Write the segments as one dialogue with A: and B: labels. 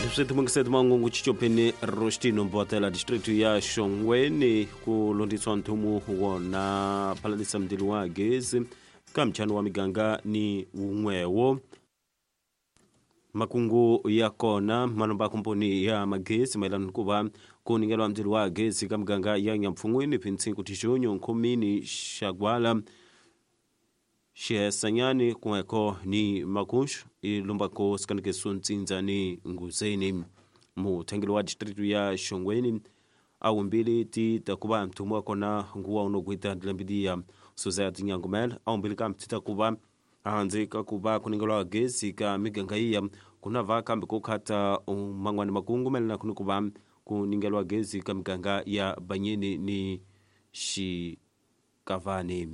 A: Leswi timungiseti mangungu chichopeni rostino mbotela district ya Shongweni ku londiswa nthumu wona phalalisa mdili wa gezi ka mchano wa miganga ni wun'wewo. Makungu ya kona malomba komponi ya magezi mayelana ku va ku ningelwa mdzilo wa gezi ka miganga ya Nyampfungwini, Phintsinku, Tixonyo, Nkhomini, Xagwala, Xihesanyani kun'weko ni Makuxu ilumbako sikanekeso Ntsindza ni Nguzeni. Muthangeli wa district ya Shongweni awumbili ti ta ku va mthumu wa kona nguwa unogwita dilambidiya Suzette Nyangumela awumbili kambe ti ta ku va handle ka ku va ku ningelwa gezi ka miganga iya ku na va kambe ku khata man'wani makungu mayelana ni ku va ku ningelwa gezi ka miganga ya Banyeni ni Xikavani.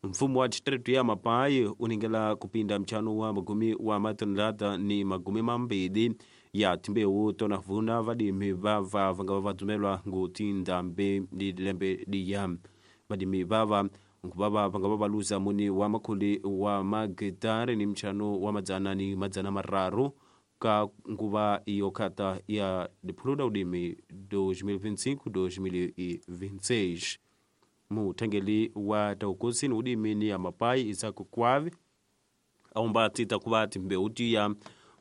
A: Mfumo wa district ya Mapai u ningela kupinda mchano wa magumi wa matonelada ni magumi mambili ya timbewu tona vuna vadimi vava vanga va dzumelwa ngu tindhambi ni lembe liya. Vadimi vava nkuvava vanga va valuza muni wa makhuli wa magitari ni mchano wa madzana ni madzana mararu ka nguva iyo khata ya diphuluda udimi 2025-2026. Muthengeli wa taukusini udimi ni ya Mapai Isaac Kwavi aumba tita kuva timbewu tiya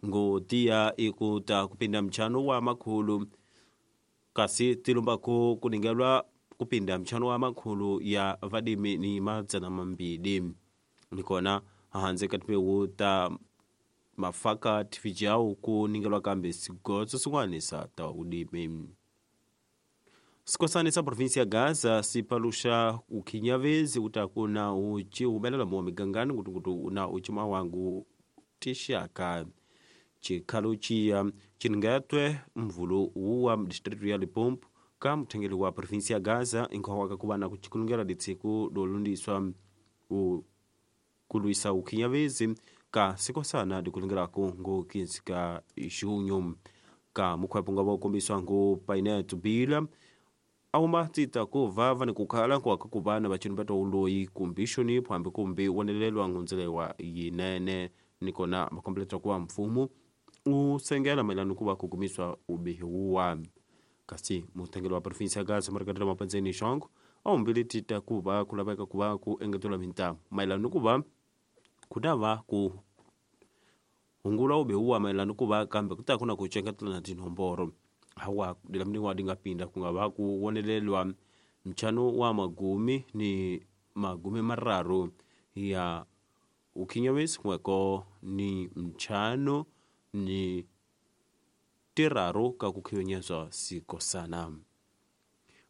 A: ngo tiya ikuta kupinda mchano wa makhulu kasi tilumbako kuningelwa kupinda mchano wa makhulu ya vadimi ni madzana mambili. Nikona hanze ka timbewu ta mafaka tifijau kuningelwa kambe sigotso swin'wana sa ta udimi. Sikosani sa provinsi ya Gaza sipalusha ukhinyavezi utakuna uchi humelela muwa migangani ngutungutu na uchima wangu tixaka chikhalo chiya chiningetwe mvulu wuwa distritu ya Limpopo ka muthengeli wa provinsi ya Gaza inkhwawaka kuva na kuchikulungela litsiku lolundiswa kulwisa ukhinyavezi ka sikosana dikulungelaku ngu 15 ka junho. Ka mukhwepo nga vokombiswa ngu Painet Bila auma tita ku vava ni kukhala nkuwaka ku va na vachini va tauloyi kumbi xonipho hambi kumbi wonelelwa ngundzelewa yinene. Nikona makombeletwa kuva mfumo u sengela mayelana ku va ku kumiswa ubihi wuwa. Kasi muthengeli wa provinsi ya Gaza Marikatela Mapandzeni Xongo awumbili tita ku va ku laveka ku va ku engetelwa mintamu mayelana ku va ku ta va ku hungula ubihi wuwa mayelana ku va kambe ku ta ku na ku cengetela na tinomboro hawa dilamniwa dinga pinda ku nga va ku wonelelwa mchano wa magumi ni magumi mararu ya ukhinyavesi kun'weko ni mchano ni tiraru ka kukhinyezwa sikosana.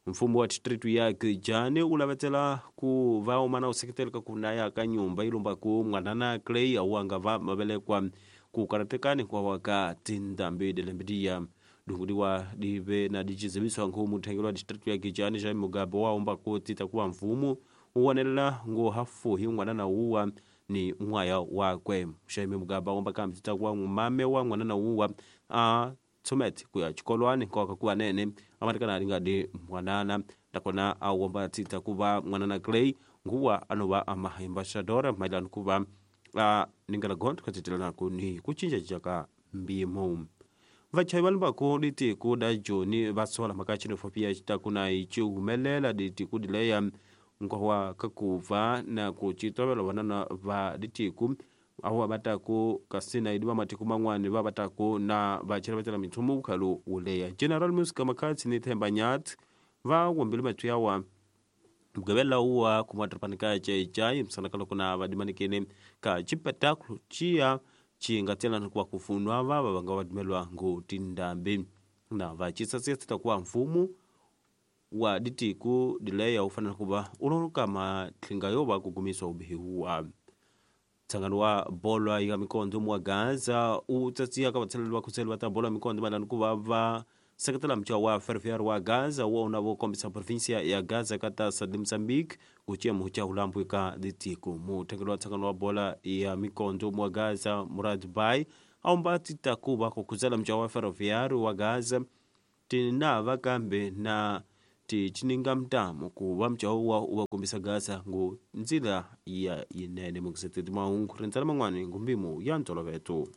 A: Mfumo wa district ya Kijani u lavetela ku va umana u seketela ka kunaya ka nyumba ilumbaku mwanana Clay awanga va mavelekwa ku karatekani kwa waka tindhambi dilembidiya dunguliwa dive na dichizimiswa nkhu muthengeli wa district ya Kijani Jaime Mugabe waumba ku tita kuwa mfumo uwonelela ngu hafuhi n'wanana wuwa ni n'waya wakwe. Jaime Mugabe aumba kambe tita kuwa mame wa n'wanana wuwa a tsomete kuya chikolwani nkoka kuwa nene amatikana alingadi mwanana nakona awomba tita kuva mwanana Clay nguwa anova amaambassadora mailano kuva a ningela gontho khatitelanaku ni kucinja ka mbimo. Vachayi va lumbako ditiku da Joni va sola mhaka xenofobia xitaku na yi humelela ditiku dileya nkwawa kakuva na ku citovela vanana va ditiku awa vataku kasi na idi va matiko man'wani va vataku na vachela vatela mithumu vukhalu wuleya. General Music Makhatsi ni Themba Nyathi va wombile mathu yawa mugavela uwa kumatiripani ka Cecai msanaka loko na vadimanikene ka chipetakulu chiya chingatela kuva kufunwa vava vanga vadumelwa ngu tindhambi na vacisasisita kuva mfumo wa ditiku dileya u fanele kuva uloluka matlinga yo va kukumiswa ubihi wuwa. Ntsangano wa bolo ya mikondo wa Gaza u tsatsiya ka vatsheleli va khuseli va ta bolo ya mikondo mayelana ku va va seketela mutshwa wa Ferroviário wa Gaza wona vo kombisa provinsia ya Gaza ka ta sa Mozambique ku ciemu cha ulambu ka ditiko. Muthengeli wa ntsangano wa bola ya mikondo wa Gaza Murad Bay aumba tita kuva kukhuzela mutshwa wa Ferroviário wa Gaza tinava kambe na tichininga mtamo kuva mutshwa wa u va kombisa Gaza ngu ndzila ya yinene mukiseteti mahungu rindzela man'wani ngumbimo ya ntoloveto.